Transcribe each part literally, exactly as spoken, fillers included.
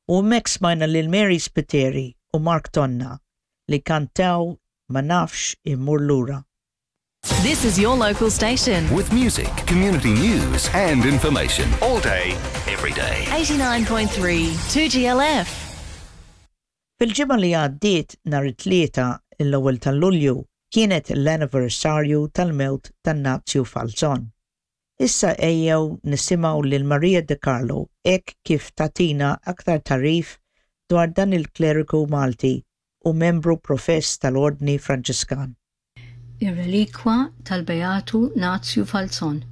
U hemmhekk smajna lil Mary Spiteri u Mark Tonna li kantaw "Ma Nafx Immur Lura". This is your local station. With music, community news, and information. All day, every day. eighty-nine point three two G L F. Fil-ġimgħa li għaddiet, nhar it-Tlieta, l-ewwel ta' Lulju, kienet l-anniversarju tal-mewt tan-Nazju Falzon. Issa ejjew nisimgħu lil Maria De Carlo hekk kif tagħtina aktar tagħrif dwar dan il-kleriku Malti u membru profess tal-Ordni Franġiskan. Ir-relikwa tal-Beatu Nazju Falzon.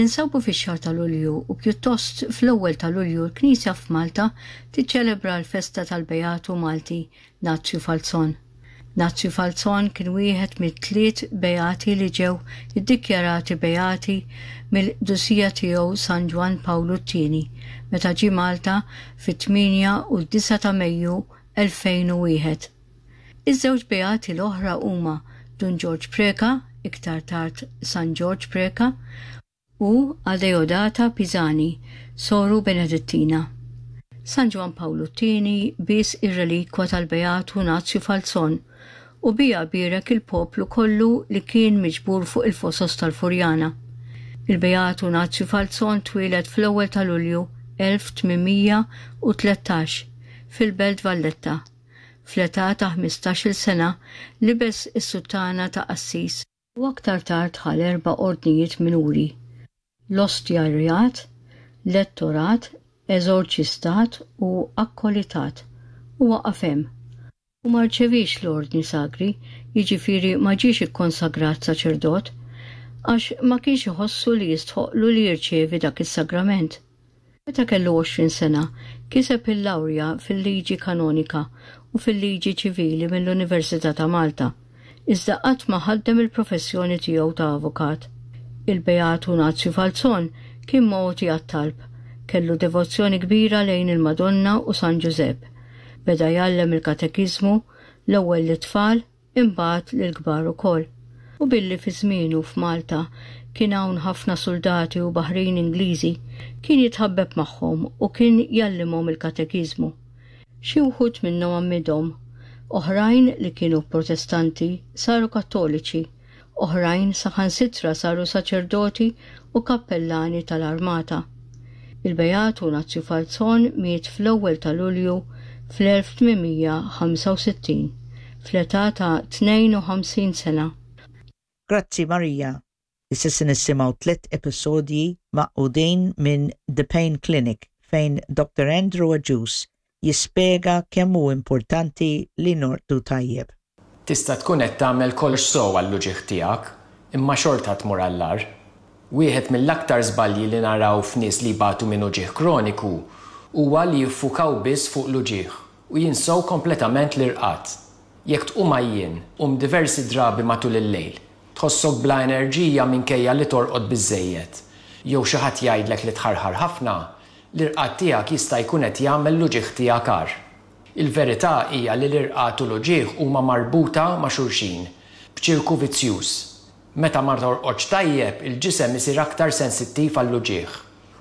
Ninsabu fix-xahar ta' Lulju u pjuttost fl-ewwel ta' Lulju l-Knisja f'Malta tiċċelebra l-festa tal-Beatu Malti Nazju Falzon. Nazju Falzon kien wieħed mit-tliet beati li ġew iddikjarati beati mill-Qdusija Tiegħu San Ġwann Pawlu t-Tieni meta ġie Malta fit-tmienja u d-disgħa ta' Mejju elfejn u wieħed. Iż-żewġ beati l-oħra huma Dun Ġorġ Preka, iktar tard San Ġorġ Preka, u Adeodata Pisani, soru Benedittina. San Ġwann Pawlu t-Tieni bies ir-relikwa tal-Beatu Nazju Falzon u biha bierek il-poplu kollu li kien miġbur fuq il-fosos tal-Furjana. Il-Beatu Nazju Falzon twieled fl-ewwel ta' Lulju elf tmien mija u tlettax fil-Belt Valletta. Fl-età ta' ħmistax-il sena libes is-suttana ta' qassis u aktar tard ħa l-erba' ordnijiet minuri: l-ostjarjat, lettorat, eżorċistat u akkolitat, u waqaf hemm. U ma rċevix l-ordni sagri, jiġifieri ma ġiex ikkonsagrat saċerdot, għax ma kienx iħossu li jistħoqlu li jirċevi dak is-sagrament. Meta kellu għoxrin sena, kiseb il-lawrja fil-liġi kanonika u fil-liġi ċivili mill-Università ta' Malta, iżda qatt ma ħaddem il-professjoni tiegħu ta' avukat. Il-Beatu Nazju Falzon kien mogħti għat-talb, kellu devozzjoni kbira lejn il-Madonna u San Ġużepp. Beda jgħallem il-katekiżmu l-ewwel lit-tfal, imbagħad lill-kbar ukoll. U billi fi żmienu f'Malta kien hawn ħafna soldati u baħrin Ingliżi, kien jitħabbeb magħhom u kien jgħallimhom il-katekiżmu. Xi wħud minnhom għammidhom, oħrajn li kienu Protestanti saru Kattoliċi, oħrajn saħansitra saru saċerdoti u kappellani tal-armata. Il-Beatu Nazju Falzon miet fl-ewwel ta' Lulju fl-elf tmien mija ħamsa u sittin fl-età ta' tnejn u ħamsin sena. Grazzi, Maria. Issa se nisimgħu tliet episodji magħqudin minn The Pain Clinic, fejn Doctor Andrew Agius jispjega kemm hu importanti li norqdu tajjeb. Tista' tkun qed tagħmel kollox sew għall-uġigħ tiegħek, imma xorta tmur għall-agħar. Wieħed mill-aktar żbalji li naraw f'nies li jbatu minn uġigħ kroniku huwa li jiffukaw biss fuq l-uġigħ u jinsew kompletament l-irqad. Jekk tqum għajjien, tqum diversi drabi matul il-lejl, tħossok bla enerġija minkejja li torqod biżejjed, jew xi ħadd jgħidlek li tħarħar ħafna, l-irqad tiegħek jista' jkun qed jagħmel l-uġigħ tiegħek agħar. Il-verità hija li l-irqad u l-uġigħ huma marbuta ma' xulxin b'ċirku vizzjuż. Meta ma torqodx tajjeb, il-ġisem isir aktar sensittiv għall-uġigħ.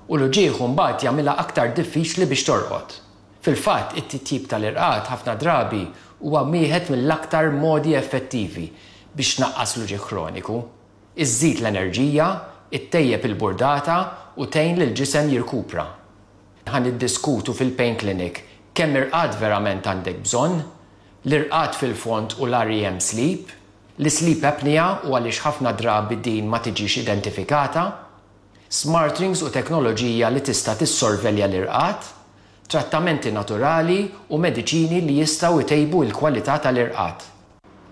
U l-uġigħ mbagħad jagħmilha aktar diffiċli biex torqod. Fil-fatt, it-titjib tal-irqad ħafna drabi huwa wieħed mill-aktar modi effettivi biex tnaqqas l-uġigħ kroniku. Iżżid l-enerġija, ittejjeb il-burdata u tgħin lill-ġisem jirkupra. Ħa niddiskutu fil-Pain Clinic kemm irqad verament għandek bżonn, l-irqad fil-fond u l-R E M sleep, l-sleep apnea u għaliex ħafna drabi din ma tiġix identifikata, smart rings u teknoloġija li tista' tissorvelja l-irqad, trattamenti naturali u mediċini li jistgħu jtejbu l-kwalità tal-irqad.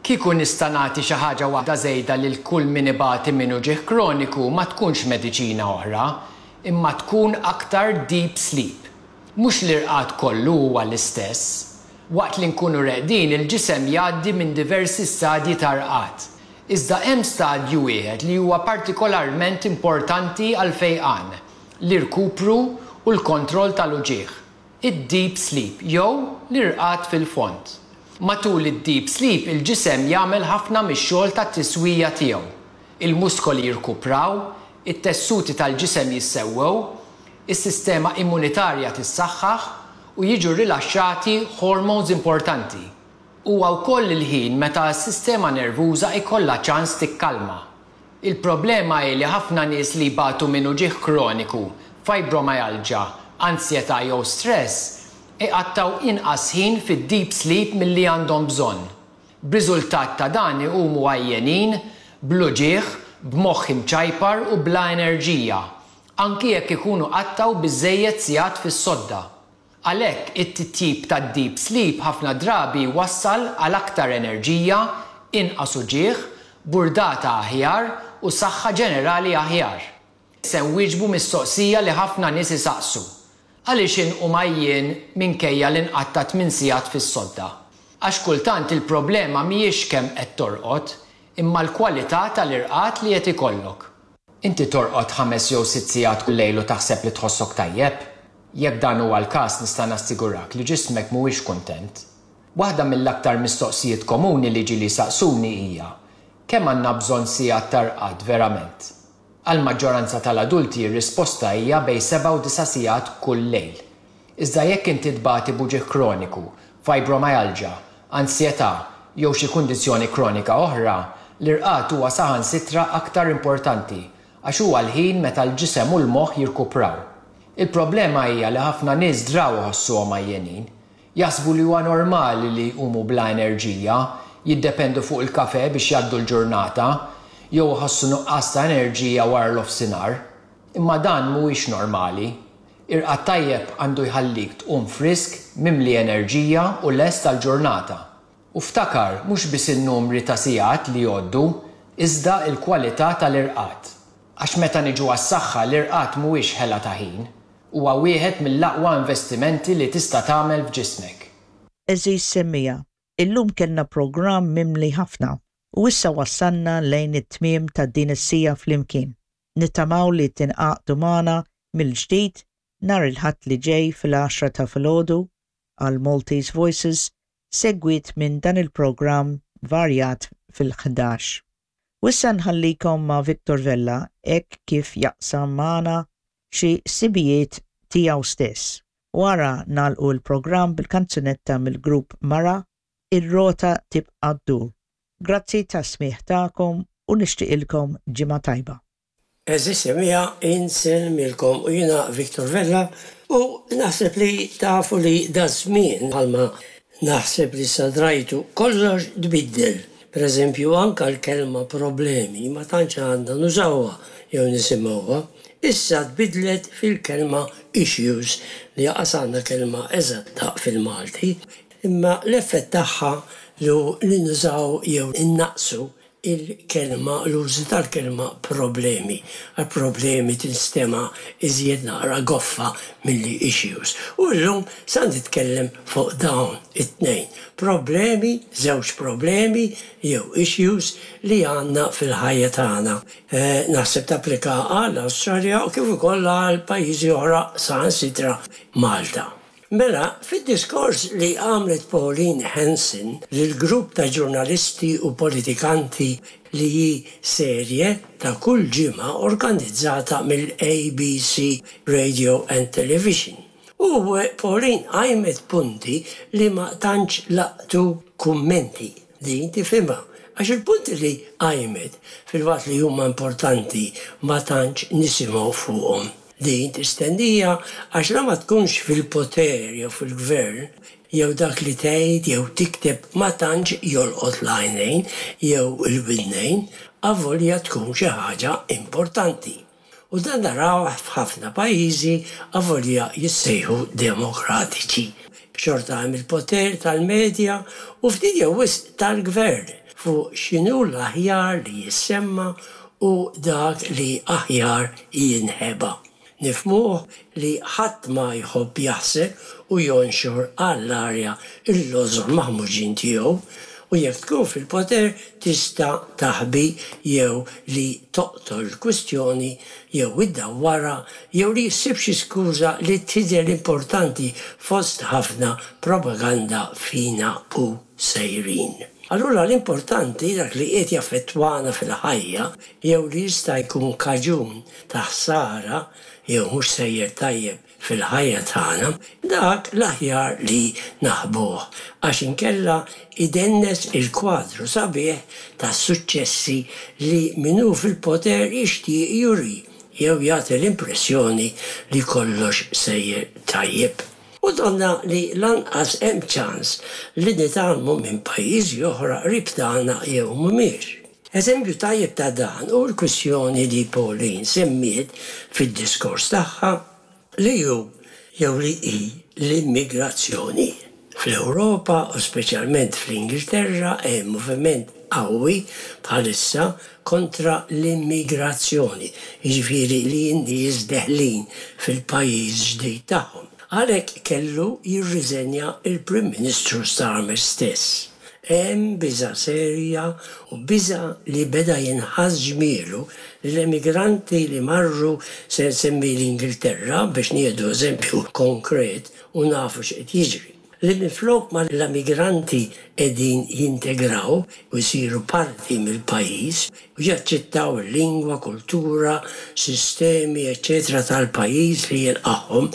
Kieku nista' nagħti xi ħaġa waħda żejda lil kull min ibati minn uġigħ kroniku, ma tkunx mediċina oħra, imma tkun aktar deep sleep. Mhux l-irqad kollu huwa l-istess. Waqt li nkunu reqdin, il-ġisem jgħaddi minn diversi stadji ta' rqad. Iżda hemm stadju wieħed li huwa partikolarment importanti għal fejqan, l-irkupru u l-kontroll tal-uġigħ. Id-deep sleep jew l-irqad fil-fond. Matul id-deep sleep, il-ġisem jagħmel ħafna mix-xogħol tat-tiswija tiegħu. Il-muskoli jirkupraw, it-tessuti tal-ġisem jissewwew, is-sistema immunitarja tissaħħaħ u jiġu rilaxxati hormones importanti. Huwa wkoll il-ħin meta s-sistema nervuża ikollha ċans tikkalma. Il-problema hi li ħafna nies li jbatu minn uġigħ kroniku, fibromyalgia, ansjetà jew stress, iqattgħu inqas ħin fid-deep sleep milli għandhom bżonn. B'riżultat ta' dan iqumu għajjenin, bl-uġigħ, b'moħħ imċajpar u bla enerġija, anki jekk ikunu qattgħu biżżejjed sigħat fis-sodda. Għalhekk it-titjib tad-deep sleep ħafna drabi wassal għal aktar enerġija, inqas uġigħ, burdata aħjar u saħħa ġenerali aħjar. Se nwieġbu mistoqsija li ħafna nies isaqsu. Għaliex inqum għajjien minkejja li nqatta' tmien sigħat fis-sodda? Għax kultant il-problema mhijiex kemm qed torqod, imma l-kwalità tal-irqad li qed ikollok. Inti torqod ħames jew sitt sigħat kull lejl u taħseb li tħossok tajjeb? Jekk dan huwa l-każ nista' nassigurak li ġismek mhuwiex kuntent. Waħda mill-aktar mistoqsijiet komuni li ġieli saqsuni hija: kemm għandna bżonn sigħat ta' rqad verament? Għal maġġoranza tal-adulti r-risposta hija bejn seba' u disa' sigħat kull lejl. Iżda jekk inti tbati b'uġigħ kroniku, fibromyalgia, ansjetà jew xi kundizzjoni kronika oħra, l-irqad huwa saħansitra aktar importanti għax huwa l-ħin meta l-ġisem u l-moħħ jirkupraw. Il-problema hija li ħafna nies draw iħossuhom għajjenin. Jaħsbu li huwa normali li jqumu bla enerġija, jiddependu fuq il-kafe biex jgħaddu l-ġurnata, jew iħossu nuqqas ta' enerġija wara l-ofsinhar. Imma dan mhuwiex normali. Irqad tajjeb għandu jħallik tqum frisk, mimli enerġija u lest għall-ġurnata. U ftakar mhux biss in-numri ta' sigħat li jgħoddu, iżda l-kwalità tal-irqad. Għax meta niġu għas-saħħa l-irqad mhuwiex ħela ta' ħin. Huwa wieħed mill-aqwa investimenti li tista' tagħmel f'ġismek. Għeżież semmiegħa, illum kellna programm mimli ħafna u issa wassalna lejn it-tmiem ta' din is-siegħa flimkien. Nittamaw li tingħaqdu magħna mill-ġdid nhar il-Ħadd li ġej fil-għaxra ta' filgħodu għal Maltese Voices segwit minn dan il-programm varjat fil-ħdax. U issa nħallikom ma' Victor Vella hekk kif jaqsam magħna xi ħsibijiet tiegħu stess. Wara nagħlqu l-programm bil-kanzunetta mill-grupp Mara, Ir-rota tibqa' ddur. Grazzi tas-smigħ tagħkom u nixtieqilkom ġimgħa tajba. Għeżież semmiegħa, insellmilkom u jiena Victor Vella u naħseb li tafu li daż-żmien bħalma naħseb li sadrajtu kollox tbiddel. Per eżempju, anka l-kelma problemi ma tantx għandna nużawha jew nisimgħuha. Issa tbidlet fil-kelma issues li lanqas għandna kelma eżatta fil-Malti, imma l-effett tagħha li nużaw jew innaqsu il-kelma, l-użu tal-kelma problemi. Għal problemi tinstema iżjed naqra goffa milli issues. U llum sa nitkellem fuq dawn it-tnejn. Problemi, żewġ problemi jew issues li għandna fil-ħajja tagħna. Eh, naħseb tapplika għal Awstralja u kif ukoll għal pajjiżi oħra saħansitra Malta. Mela, fid-diskors li għamlet Pauline Hanson lil grupp ta' ġurnalisti u politikanti li hi serje ta' kull ġimgħa organizzata mill-A B C Radio and Television. U Pauline għajmet punti li ma tantx laqtu kummenti. Din tifhimha. Għax il-punti li għajmet fil-waqt li huma importanti ma tantx nisimgħu fuqhom. Din tistennija għax la ma tkunx fil-poter jew fil-gvern jew dak li tgħid jew tikteb ma tantx jolqot l-għajnejn jew il-widnejn, avolja tkun xi ħaġa importanti. U dan naraw f'ħafna pajjiżi avolja jissejħu demokratiċi. Xorta hemm il-poter tal-medja u ftit jew wisq tal-gvern fuq x'inhu l-aħjar li jissemma u dak li aħjar jinħeba. Nifhmuh li ħadd ma jħobb jaħsel u jonxor għall-arja il-lożor maħmuġin tiegħu u jekk tkun fil-poter tista' taħbi jew li toqtol kwistjoni jew iddawwarha jew li ssib xi skuża li tidher importanti fost ħafna propaganda fina u sejrin. Allura l-importanti, dak li qed jaffettwana fil-ħajja jew li jista' jkun kaġun ta' ħsara jew mhux sejjer tajjeb. fil-ħajja tagħna, dak l-aħjar li naħbuh għax inkella idennes il-kwadru sabiħ ta' suċċessi li min hu fil-poter jixtieq juri jew jagħti l-impressjoni li kollox sejjer tajjeb. U donna li lanqas hemm ċans li nitgħallmu minn pajjiżi oħra qrib tagħna jew mhumiex. Eżempju tajjeb ta' dan hu l-kwistjoni li Pauline semmiet fid-diskors tagħha li hu jew li hi l-immigrazzjoni. Fl-Ewropa u speċjalment fl-Ingilterra hemm moviment qawwi bħalissa kontra l-immigrazzjoni, jiġifieri li n-nies deħlin fil-pajjiż ġdid tagħhom. Għalhekk kellu jirriżenja il-Prim Ministru Starmer stess. Hemm biża' serja u biża' li beda jinħass ġmielu li l-emigranti li marru se nsemmi l-Ingilterra biex nieħdu eżempju konkret u nafu x'qed jiġri. Li minflok ma l-emigranti qegħdin jintegraw u jsiru parti mill-pajjiż u jaċċettaw il-lingwa, kultura, sistemi, eċċetera tal-pajjiż li jilqagħhom,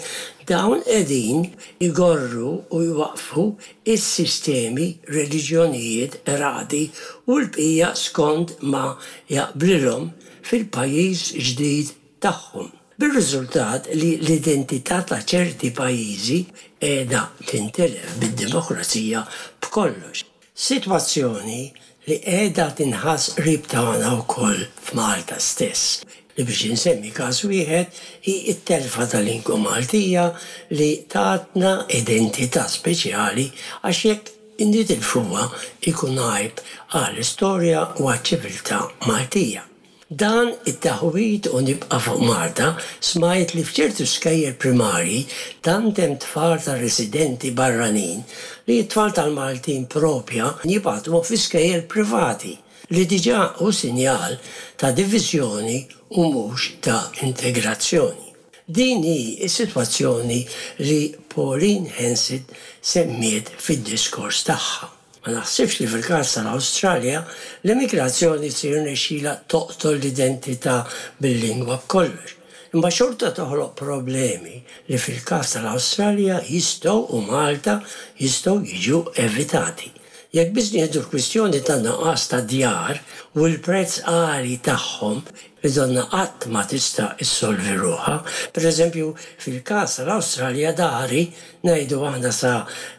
dawn qegħdin igorru u jwaqfu is-sistemi, reliġjonijiet, radi u l-bqija skont ma jaqblilhom fil-pajjiż ġdid tagħhom. Bir-riżultat li l-identità ta' ċerti pajjiżi qiegħda tintilef bid-demokrazija b'kollox. Sitwazzjoni li qiegħda tinħass qrib tagħna wkoll f'Malta stess. Li biex insemmi każ wieħed hi t-telfa tal-lingwa Maltija li tatna identità speċjali għax jekk nitilfuha ikun għajb għall-istorja u għaċ-ċiviltà Maltija. Dan it-taħwid u nibqa' fuq Malta smajt li f'ċertu skejjel primarji tant hemm tfal ta' residenti barranin li t-tfal tal-Maltin propja jibgħatuhom fi skejjel privati li diġà hu sinjal ta' diviżjoni u mhux ta' integrazzjoni. Din hi s-sitwazzjoni li Pauline Hanson semmiet fid-diskors tagħha. Ma naħsibx li fil-każ tal-Awstralja l-immigrazzjoni se jirnexxilha toqtol l-identità bil-lingwa b'kollox. Imma xorta toħloq problemi li fil-każ tal-Awstralja jistgħu u Malta jistgħu jiġu evitati. Jekk biss nieħdu l-kwistjoni ta' nuqqas ta' djar u l-prezz għali tagħhom li donna qatt ma tista' issolvi ruħha, pereżempju fil-każ tal-Awstralja dari ngħidu aħna sa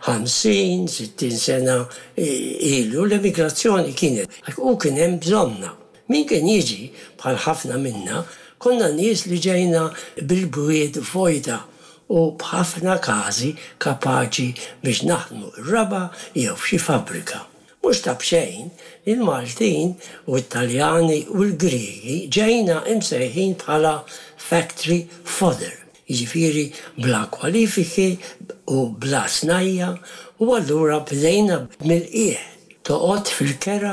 ħamsin, sittin sena ilu l-emigrazzjoni kienet u kien hemm bżonnha. Min kien jiġi bħal ħafna minna konna nies li ġejna bil-bwiet vojta u b'ħafna każi kapaċi biex naħdmu r-raba' jew f'xi fabbrika. Mhux ta' b'xejn li l-Maltin u t-Taljani u l-Griegi ġejna imsejħin bħala factory fodder, jiġifieri bla kwalifiki u bla snajja' u allura bdejna mill-qiegħ. Toqgħod fil-kera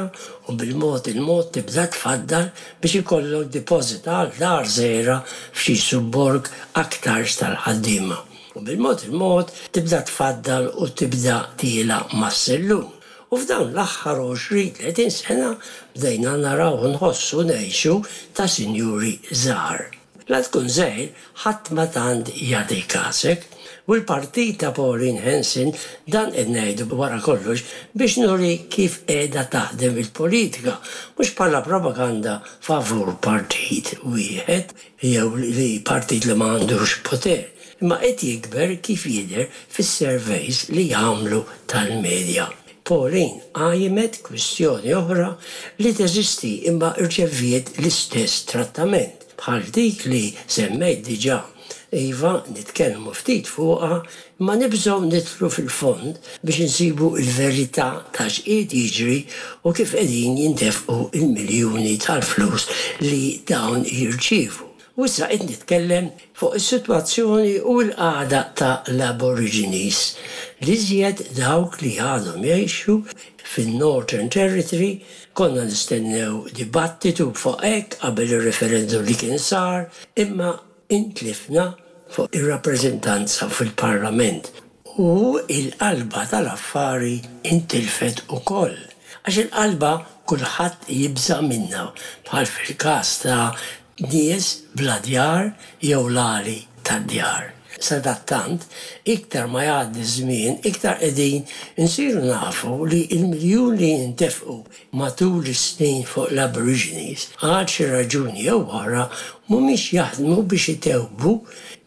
u bil-mod il-mod tibda tfaddal biex ikollok deposit għal dar żgħira f'xi subborg aktarx tal-ħaddiema. U bil-mod il-mod tibda tfaddal u tibda tiela' mas-sellum. U f'dawn l-aħħar għoxrin tletin sena bdejna naraw u nħossu ngħixu ta' sinjuri żgħar. La tkun żgħir ħadd ma tant jagħti kasek. U l-partit ta' Pauline Hanson dan qed ngħidu wara kollox biex nuri kif qiegħda taħdem il-politika, mhux bħala propaganda favur partit wieħed jew li partit li ma għandux poter, imma qed jikber kif jidher fis-surveys li jagħmlu tal-medja. Pauline qajmet kwistjoni oħra li teżisti imma rċeviet l-istess trattament bħal dik li semmejt diġà. Iva, nitkellmu ftit fuqha, imma nibżgħu nidħlu fil-fond biex insibu l-verità ta' x'qiegħed jiġri u kif qegħdin jintefqu l-miljuni tal-flus li dawn jirċievu. U issa qed nitkellem fuq is-sitwazzjoni u l-qagħda ta' l-Aborigines, l-iżjed dawk li għadhom jgħixu fin-Northern Territory. Konna nistennew dibattitu fuq hekk qabel ir-referendum li kien sar, imma intlifna fuq ir-rappreżentanza fil-Parlament u l-qalba tal-affari intilfet ukoll. Għax il-qalba kulħadd jibża' minnha, bħal fil-każ ta' nies bla djar jew l-għali tad-djar. Sadattant, iktar ma jgħaddi żmien, iktar qegħdin insiru nafu li l-miljuni li ntefqu matul is-snin fuq l-Aborigines għal xi raġuni jew oħra mhumiex jaħdmu biex itejbu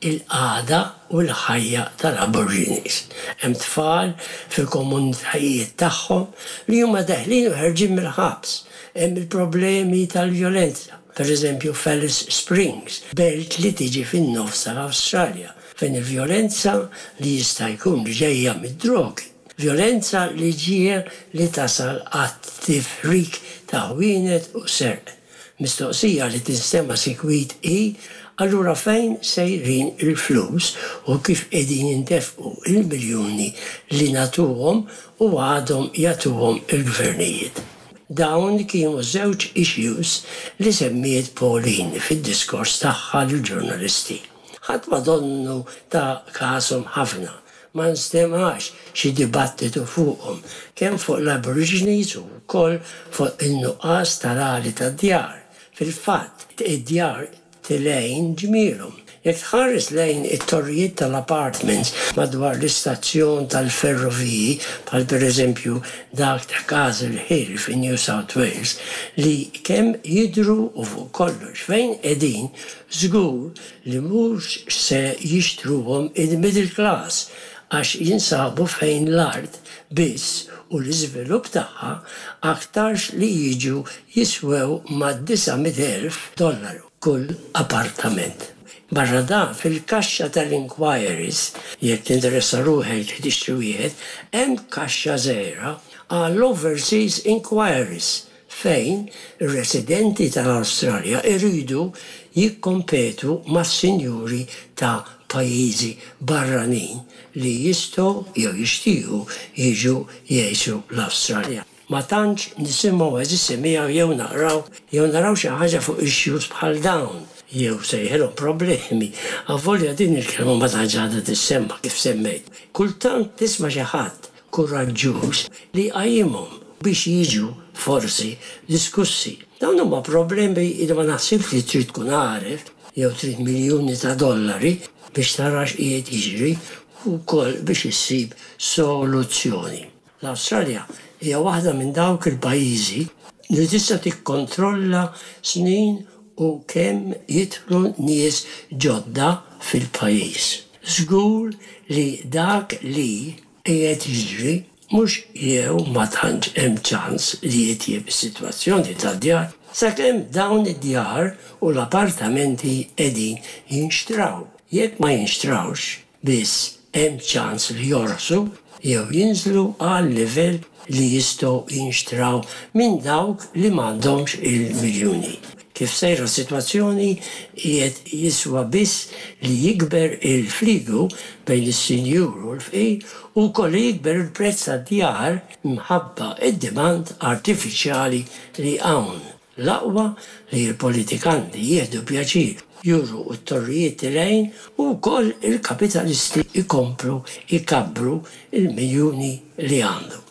il-qagħda u l-ħajja tal-Aborigines. Hemm tfal fil-komunitajiet tagħhom li huma deħlin u ħerġin mill-ħabs. Hemm il-problemi tal-vjolenza. Per eżempju, f'Alice Springs, belt li tiġi fin-nofs tal-Awstralja, fejn il-vjolenza li jista' jkun li ġejja mid-drogi. Vjolenza li ġie li tasal għat-tifrik ta' ħwienet u serq. Mistoqsija li tinstema' sikwit hi, allura fejn sejrin il-flus u kif qegħdin jintefqu il-miljuni li nagħtuhom u għadhom jagħtuhom il-gvernijiet? Dawn kienu żewġ issues li semmiet Pauline fid-diskors tagħha lill-ġurnalisti. Ħadd ma donnu ta kashom ħafna, ma nstemax xi dibattitu fuqhom, kemm fuq l-Aborigines u wkoll fuq in-nuqqas tal-għali tad-djar. Fil-fatt, id-djar telgħin ġmielhom. Jekk tħares lejn it-torrijiet tal-apartments madwar l-istazzjon tal-ferroviji, bħal pereżempju dak ta' Castle Hill fi New South Wales, li kemm jidhru u fuq kollox fejn qegħdin, żgur li mhux se jixtruhom il-middle class għax jinsabu fejn l-art biss u l-iżvilupp tagħha aktarx li jiġu jiswew mad-disa' mitt elf dollaru kull appartament. Barra dan, fil-kaxxa tal-inquiries, jekk tinteressa ruħek li tixtri wieħed, hemm kaxxa żgħira għall-overseas inquiries fejn ir-residenti tal-Awstralja jridu jikkompetu mas-sinjuri ta' pajjiżi barranin li jistgħu jew jixtiequ jiġu jgħixu l-Awstralja. Ma tantx nisimgħu għeżież semmiegħa jew naqraw jew naraw xi ħaġa fuq issues bħal dawn jew sejħilhom problemi. Avolja din il-kelma ma tantx għadha tissemma kif semmejt. Kultant tisma' xi ħadd kuraġġuż li jqajjimhom biex jiġu forsi diskussi. Dawn huma problemi li ma naħsibx li trid tkun għaref jew trid miljuni ta' dollari biex tara x'qiegħed jiġri u wkoll biex issib soluzzjoni. L-Awstralja hija waħda minn dawk il-pajjiżi li tista' tikkontrolla snin u kemm jidħlu nies ġodda fil-pajjiż. Żgur li dak li qiegħed jiġri mhux jew ma tantx hemm ċans li jitjieb is-sitwazzjoni tad-djar sakemm dawn id-djar u l-appartamenti qegħdin jinxtraw. Jekk ma jinxtrawx biss hemm ċans li jorħsu jew jinżlu għal livell li jistgħu jinxtraw minn dawk li m'għandhomx il-miljuni. Kif sejra s-sitwazzjoni qiegħed jiswa biss li jikber il-fliegu bejn is-sinjur u l-fqir u wkoll li jikber il-prezz tad-djar minħabba id-demand artifiċjali li hawn. L-aqwa li l-politikanti jieħdu pjaċir juru t-torrijiet tilgħin u wkoll il-kapitalisti jkomplu jkabbru il-miljuni li għandhom.